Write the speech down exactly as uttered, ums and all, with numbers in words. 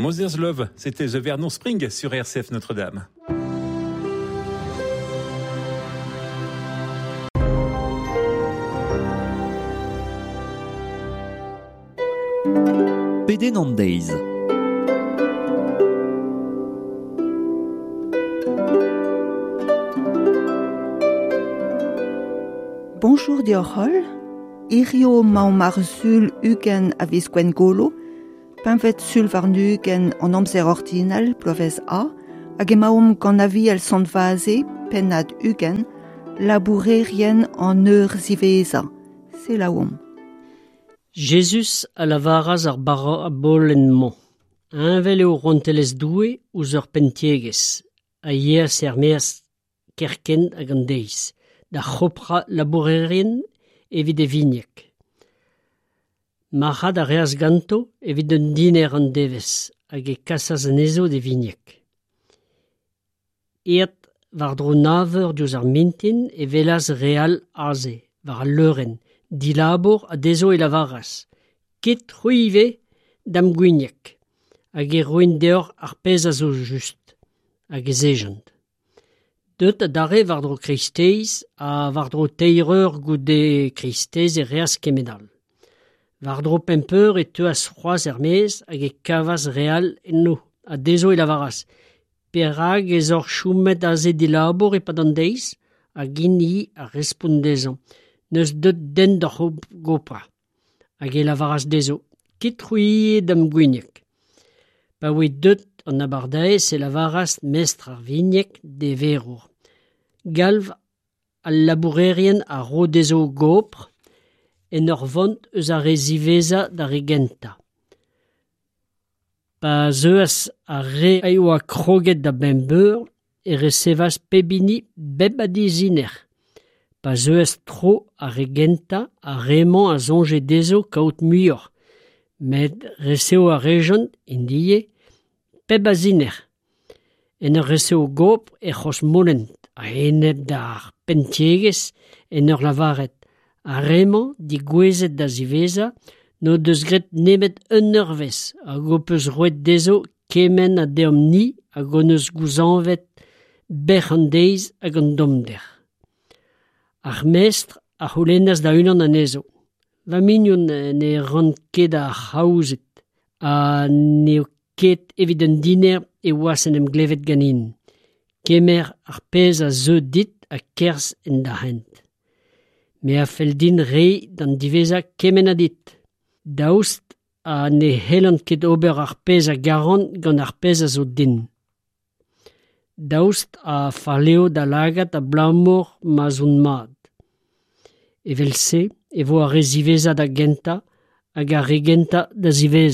Mother's Love, c'était The Vernon Spring sur R C F Notre-Dame. Pedenn an deiz. Bonjour deoc'h holl, hirio 'maomp ar sul ugent a viz Gwengolo, pempvet sul warn-ugent an amzer ordinal bloavezh A, hag emaomp gant Aviel Sant Vaze, pennad ugent, labourerien an eur ziwezhañ. Selaouomp. Jezuz a lavaras ar barabolenn-mañ. Heñvel eo rouantelezh Doue ouzh ur penntiegezh, a yeas er-maez kerkent hag an deiz, da c'hoprañ labourerien evit e vigneg. Marc'had a reas ganto evit un diner an devezh hag e kasas anezho d'e vigneg. Aet war-dro nav eur diouzh ar mintin e welas re all aze, war al leurenn, dilabour ha dezho e lavaras Ket c'hwi ivez da'm gwigneg, hag e roin deoc'h ar pezh a zo just, hag ez ejont. Deut adarre war-dro kreisteiz ha war-dro teir eur goude kreisteiz e reas kement all. War-dro pemp eur e teuas c'hoazh er-maez hag e kavas re all enno, ha dezho e lavaras Perak ez oc'h chomet aze dilabour e-pad an deiz? Hag int-i a respont dezhañ N'eus deut den d'hor goprañ. Hag e lavaras dezho Ket c'hwi ivez da'm gwigneg. Pa oe deut an abardaez e lavaras mestr ar vigneg d'e verour. Galv al labourerien a ro dezho gopr en ur vont eus ar re ziwezhañ d'ar re gentañ. Pa zeuas ar re a oa kroget da bemp eur e resevas pep hini bep a diziner. Pa zeuas tro ar re gentañ, ar re-mañ a soñje dezho kaout muioc'h, met resev a rejont, int ivez, pep a ziner. En ur resev gopr e c'hrozmolent a-enep d'ar penntiegezh en ur lavaret ar re-mañ digouezet da ziwezhañ n'o deus graet nemet un eurvezh hag ho peus roet dezho kement ha deomp-ni hag hon eus gouzañvet bec'h an deiz hag an tommder. Ar mestr a c'houlennas da unan anezho. Va mignon ne ran ket ar c'haouzed ha n'eo ket evit un diner e oas en em glevet ganin. Kemer ar pezh a zeu dit ha kerzh en da hent. Me a fell din reiñ d'an diwezhañ kement ha dit. Daoust ha ne c'hellan ket ober ar pezh a garan gant ar pezh a zo din. Daoust ha fall eo da lagad abalamour ma'z on mat. Evel-se e vo ar re ziwezhañ da gentañ hag ar re gentañ da ziwezhañ.